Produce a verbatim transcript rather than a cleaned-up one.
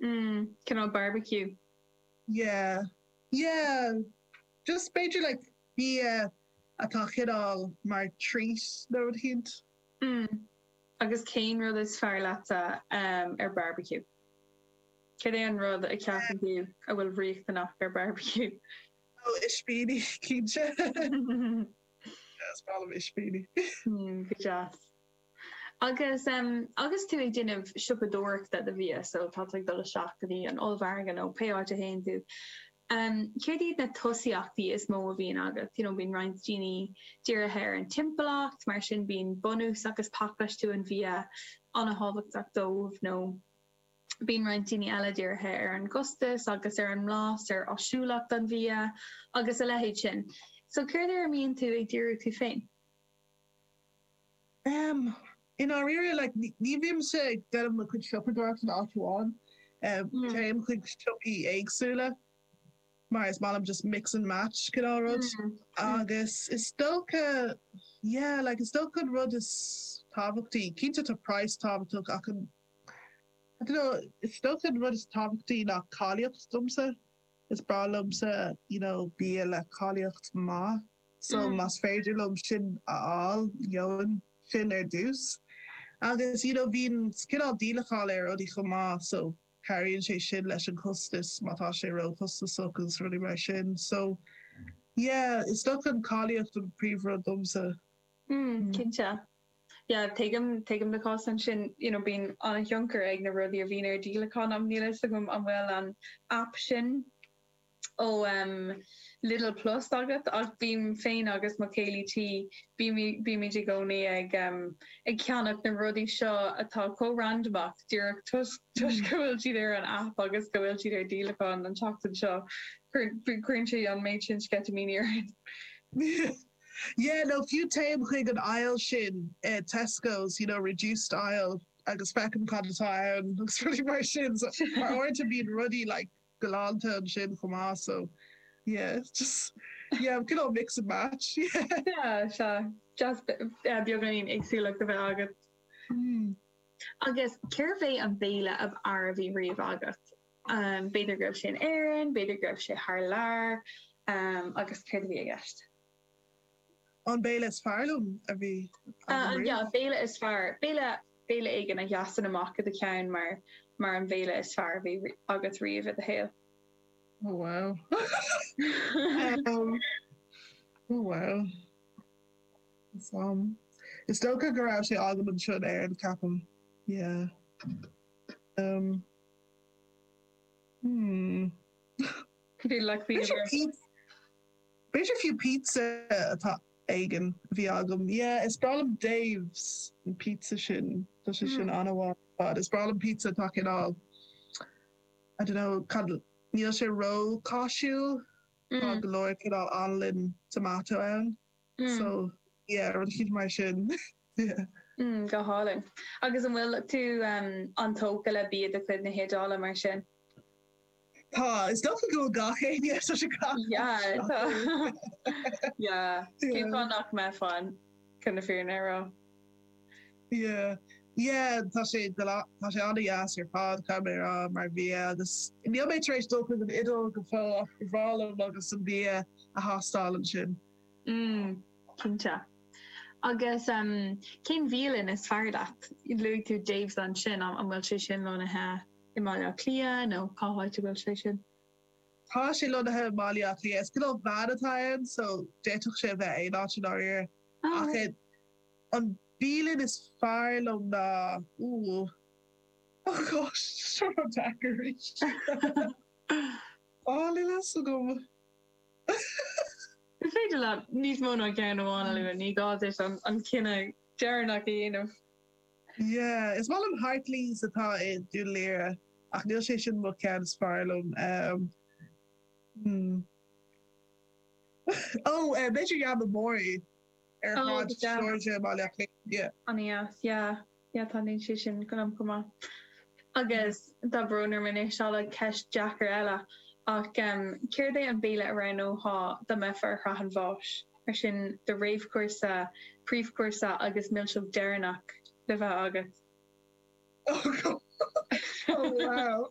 Mm, cineál barbecue. Yeah. Yeah. Just b'fhéidir like bia atá cineál mar treat nó rud éicint. Mm. Agus cén rud is fearr leatsa um, ar barbecue? Cad é an rud a cheapann tú a bhfuil riachtanach ar barbecue? Oh, ispíní cinnte. Is breá liom ispíní. Mm, go deas. Agus um, agus tú ag déanamh siopadóireachta do bhia, so tá ag dul isteach go dtí an ollmhargadh nó pé áit a théann tú. Um, Céard iad na tosaíochtaí is mó a bhíonn agat, you know, bíonn roinnt daoine dírithe ar an timpeallacht, mar sin bíonn bunús agus pacáistiú an bhia an-tábhachtach dóibh nó bíonn roinnt daoine eile dírithe ar an gcostas agus ar an mblas ar áisiúlacht an bhia agus a leithéid sin. So céard ar a mbíonn tú ag díriú tú féin? Um, I ndáiríre like, ní bhímse ag déanamh mo chuid siopadóireacht in áit amháin. Um, Mm. Téim chuig siopaí éagsúla mar is maith liom just mix and match cineál rud. Mm. Agus is dócha yeah, like, is dócha an rud is tábhachtaí, cinnte tá price tábhachtach ach an I don't know, is dócha an rud is tábhachtaí ná cáilíocht domsa. Is breá liomsa you know, bia le cáilíocht maith. So Mm. más féidir liom sin a fháil gheobhainn sin ar dtús. Agus you know, bíonn cineál díolachán ar rudaí chomh maith, so cabhraíonn sé sin leis an costas má tá sé róchostasach agus rudaí mar sin. So yeah, is dócha an cáilíocht an príomhrud domsa. Mm, cinnte. Yeah, tuigim tuigim do chás ansin you know, bíonn an-tionchar ag na rudaí a bhíonn ar díolachán am níl a fhios agam an bhfuil an app sin ó um, Lidl Plus agat ach bím féin agus mo chéile tí bímid i gcónaí ag um, ag ceannach na rudaí seo atá chomh randamach díreach toisc go bhfuil siad ar an app agus go bhfuil siad ar díolachán an tseachtain seo cuireann sé an méid sin sceitimíní orainn. Yeah, no fiú téim chuig an aisle sin uh, Tesco's, you know, reduced aisle agus feicim cad atá ann agus rudaí mar sin so mar uaireanta bíonn rudaí like galánta ansin chomh maith so yeah, just yeah, cineál mix and match. Yeah. Yeah, sea just beagáinín éagsúlacht a bheith agat. Mm. Agus cérbh é an béile ab fhearr a bhí riamh agat? Um, B'fhéidir go raibh sé in Éirinn, b'fhéidir go raibh sé thar lear, um, agus céard a bhí i gceist. An béile is fearr liom a bhí Uh, yeah, béile is fearr béile béile éigin a sheasann amach i do cheann mar mar an béile is fearr a bhí agat riamh i do shaol. Oh wow. um, oh wow. Is, um, is dócha go raibh sé agam anseo in Éirinn ceapaim. Yeah. Um, hmm. Bhí le B'fhéidir fiú pizza atá éigin a bhí agam. Yeah, is breá liom Dave's an pizza sin Tá sé sin an-mhaith. Is breá liom pizza atá cineál. I don't know cad níl sé rócháisiúil Tá go leor cineál anlann tomato ann. So yeah, rud éicint mar sin. yeah. Mm, go hálainn. Agus an bhfuil tú um, an-tógtha le bia de chuid na hIodáile mar sin? Tá is dócha go gach éinne sa sé gach. Yeah, tá. Yeah, Cén fáth nach mbeifeá chun na fírinne a rá. Yeah. Yeah, tá sé tá sé an-deas ar fad caithfidh mé a rá mar bhia agus níl mé tar éis dul chuig an Iodáil go fóill ach ba bhreá liom agus an bia a thástáil ansin. Mm, cinnte. Agus um, cén bhialann is fearr leat? Luaigh tú Dave's ansin an an bhfuil sé sin lonnaithe i mBaile Átha Cliath nó cá háit a bhfuil sé sin? Tá sé lonnaithe i mBaile Átha Cliath is cineál veain atá ann so d'fhéadfadh sé a bheith aon áit i ndáiríre. Oh, Ach an bhialann is fearr liom ná ooh. Oh gosh, seo deacair arís. Á níl a fhios agam. Is féidir leat níos mó ná ceann amháin a lua, ní gá duit an, an cinneadh deireanach a dhéanamh. Yeah, is maith liom Hartley's atá i Dún Laoghaire ach níl sé sin mo cheann is fearr liom. Um, hmm. Oh, uh, b'fhéidir Yamamori ar Oh, Shráid go deas. Seoirse Baile Átha Cliath. Yeah. An-deas, yeah. Yeah, tá sé sin go liom go maith. Agus tá brón orm anois le ceist deacair eile ach um, céard é an béile a roghnófá dá mbeifeá ar shraith an bháis, mar sin do réamhchúrsa, príomhchúrsa agus milseog deireanach le bheith agat. Oh, God. Oh wow.